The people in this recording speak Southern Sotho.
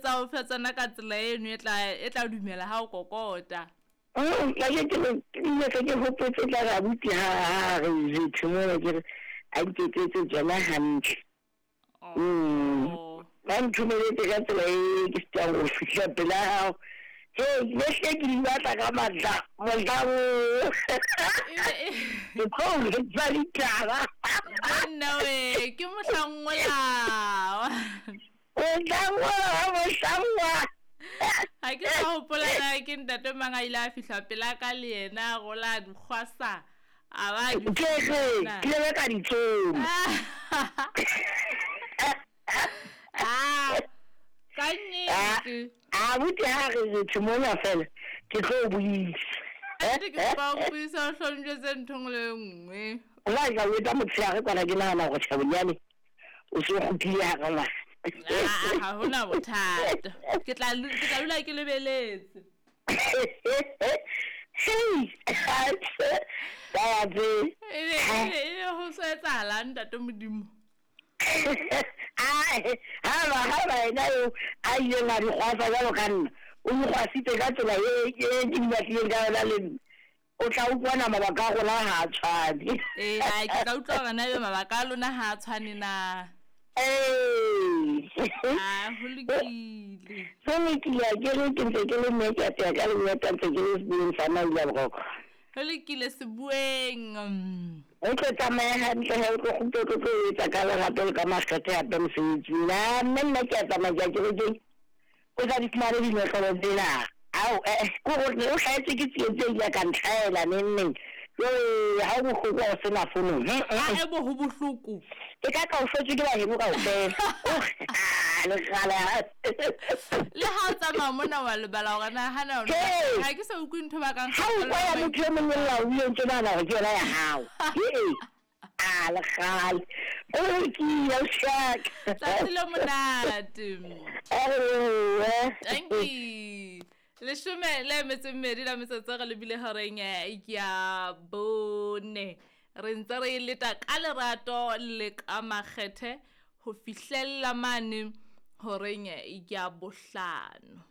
tsa o fe tsona ka tsela eno e tla e tla dumela ha o kokota. Ka ke ke ke ile ke hopotse tla re abuti ha ha re jethe mona ke re a nketsetse tsona hantle. Oh. Ba nthomeletse ka tsela e ke sitang go fihla pela hao. Hei, ne hle ke di batla ka matla mohlang oo. Ke tlo o jwetsa ditaba. Nna we, ke mohlang ola. Mohlang ola wa mohlang wa. Ga ke sa gopola na ke ntate mang a ile a fihla pela ka le yena a gola a dikgwasa. A ba di Ke re, ke ile ka di tsoma. Ah, ka nnete. A buti ha re re mona fela ke tlo buisa. Nnete ke kopa o mpuisa o hlonjwetse ntho nngwe le e nngwe. Nna ka o etsa motshehare kwana ke nahana hore tjhe bonyane o se o kgutlile hara ngwana. Ah, ha hona bothata. Ke tla ke tla dula ke lebeletse. Hei, taba tse. Ebe ebe ebe ho so etsahalang ntate Modimo? Haba haba ena eo a ileng a di kgwasa jwalo ka nna, o di kgwasitse ka tsela e e ke di batlileng ka yona le nna. O tla utlwana mabaka a rona ha a tshwane. Ee, ai, ke tla utlwa hore na ebe mabaka a lona ha a tshwane na. Ee. Ah, ho lokile. Ho lokile, ha ke re ke ntse ke le mme ke a teya ka lengeta ntse ke le sebueng sa Maila Boroko. Ho lokile sebueng. O tlo tsamaya hantle he o tlo kgutla o tlo tlo etsa ka lerato le ka makgethe hape mosebetsing. Na mme nna ke a tsamaya ke ya kerekeng. O sa di fumane dinotlolo tsena. Ao, eh, eh, ke gore o hlahetswe ke tsietsi e ile ka ntlhaela neng neng. Jowee, ha o bohloko ha o sena fono. A ebo ho bohloko. E ka ka o hlotswe ke baheno kaofela. Ah, lekgala. Le ha o tsamaya mona wa lebala hore na hana o Hey! ha ke sa utlwe ntho ba kang Ha o kwa ya motho e mong e lla o bile o ntso nahana hore ke yona ya hao. Hee! A le kgale. O lokile, ausi. Tsatsi le monate. Ewe. Thank you. Leshome le metso e mmedi la metsotso re lebile horeng eh, ya bone. Re ntse re e leta ka lerato le ka makgethe ho fihlella mane horeng eh, ya bohlano.